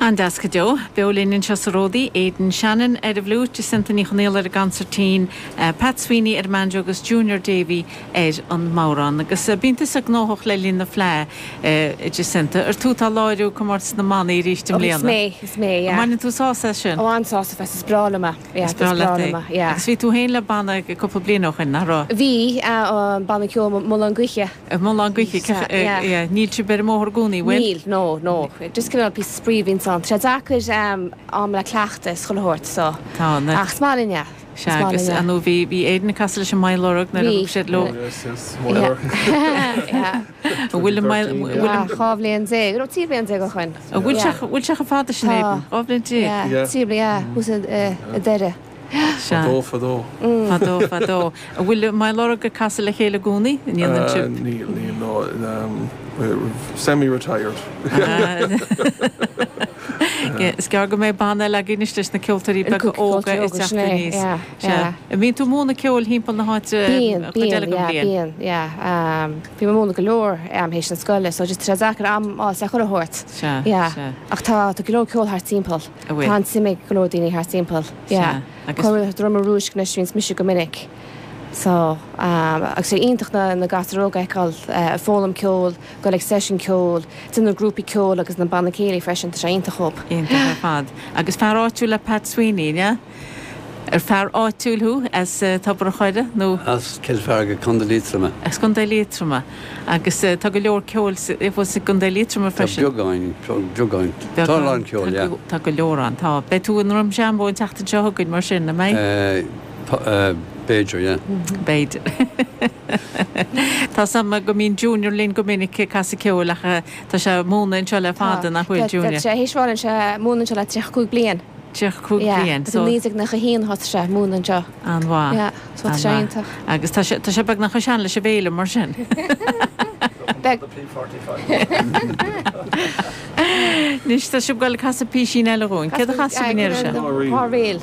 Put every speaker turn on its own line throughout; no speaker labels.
An-deas go deo. Beo linn anseo sa Ródaí, Aidan Shannon ar an bhfliúit, Jacinta Ní Chonaola ar an gconsairtín, Pat Sweeney ar an mbanjo agus Junior Davey ar an mbodhrán. Agus bíonn tusa gnóthach le linn na Fleadh, a Jacinta. Ar tú atá ag láithriú comórtas na mbannaí arís i
Oh,
mbliana?
is mé, is mé,
An
yeah.
mbaineann tú sásamh as sin?
Ó, an-sásamh as, is breá liom é. Yeah,
Is breá leat é.
yeah.
Agus bhí tú féin le banna cúpla bliain ó shoin, nach raibh?
Bhí, banna ceoil Mullán Gaoithe.
Mullán Gaoithe,
Yeah.
yeah. Níl sibh ar an mbóthar i gcónaí, bhfuil?
Níl, no, no. Just cineál píosa spraoi a bhíonns ann. Tá sé deacair am le cleachtadh is chuile shórt, so.
Tá, na.
Ach is maith linn é.
Sea, agus ar ndóigh bhí, bhí Aidan ag casadh leis an Maigh Lorg nuair a
Bhí.
thug siad leo.
Oh yes, yes, Maigh Lorg.
Yeah.
An bhfuil an Maigh, bhfuil an.
12 bhliain, nó 13 bhliain ó shoin.
An bhfuil sé, bhfuil sé chomh fada sin, Aidan?
Tá.
12 bhliain?
Yeah, 13 bliain, yeah, thuas i Doire.
Sea.
Fadó, fadó.
Fadó, fadó. An bhfuil Maigh Lorg ag casadh le chéile i gcónaí? An ndéanann sibh?
Níl, níl, no. Semi-retired.
Is gearr go mbeidh banna eile againn anois leis na ceoltóirí beaga óga ag teacht aníos. Sea. An mbíonn tú ag múineadh ceoil thimpeall na háite
Bíonn,
an chuid
bíonn,
eile den
yeah,
bhliain?
bíonn, yeah. Bím ag múineadh go leor théis na scoile so just tá sé deacair am a fháil le chuile shórt.
Sea,
Yeah.
sea.
Ach tá, tá go leor ceol thart timpeall.
An bhfuil?
Tá an-suim ag go leor daoine thart timpeall. Yeah.
Sea. Agus.
Cuireadh Drom an Rúisc anois bhíonns mise go minic. So, agus sé iontach na, na gasúir óga a fheiceáil ag foghlaim ceoil, dul ag seisiún ceoil, déanamh grúpaí ceoil agus na banna céilí freisin, tá sé iontach dhób.
Iontach ar fad. Agus fear áitiúil é Pat Sweeney, an ea? Ar fear áitiúil thú as Tobar an Choire nó?
As Cill Phearga, Contae Liatroma.
As Contae Liatroma. Agus tá go leor ceoil fós i gContae Liatroma
Tá
freisin.
beagáin, beagáin. Tá a lán ceoil, yeah.
Tá go leor ann, tá. Beidh tú i nDroim Seanbhó an tseachtain seo chugainn mar sin, an mbeidh?
B'fhéidir, yeah.
B'fhéidir. Tá 's a'm go mbíonn Junior linn go minic ag casadh ceoil ach tá sé ag múineadh anseo le fada, nach bhfuil, Junior?
Tá sé théis bheith anseo, ag múineadh anseo le 35 bliain.
35 bliain, so.
Yeah, 1991 a thosaigh sé ag múineadh anseo.
An-mhaith.
Yeah, so tá sé iontach.
Agus tá sé, tá sé beagnach chomh sean leis an bhféile mar sin.
Beag.
Anois tá sibh ag dul ag casadh písín eile dhúinn. Céard a chas sibh an iarraidh seo?
Dhá ríl.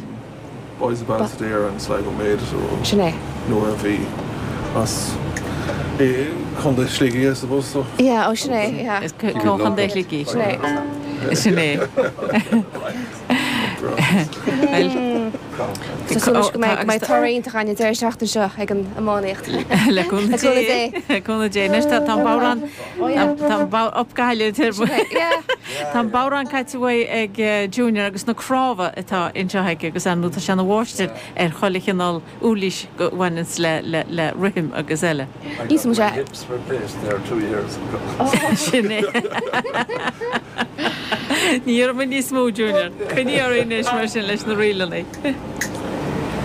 Boys of Ballysadare and Sligo Maid
Sin é.
Nuair a bhí as i Contae Shligigh I suppose so.
Yeah, oh sin é, yeah.
Is ó Chontae Shligigh.
Sin é.
Sin é. Bhuel.
Tá súil anois go mbeidh toradh iontach againn an deireadh seachtaine seo ag an iománaíocht.
Le cúnamh Dé. Le cúnamh Dé. Anois tá an bodhrán, tá an bodhrán, up Gaillimh. Tá an bodhrán caite uaidh ag Junior agus na cnámha atá anseo aige agus ar ndóigh tá sé ina mháistir ar chuile chineál uirlis a bhaineanns le le rithim agus eile.
I got my hips replaced there years ago.
Sin é. Ní iarrfaidh muid níos mó, Junior. Coinnigh oraibh anois mar sin leis na ríleanna.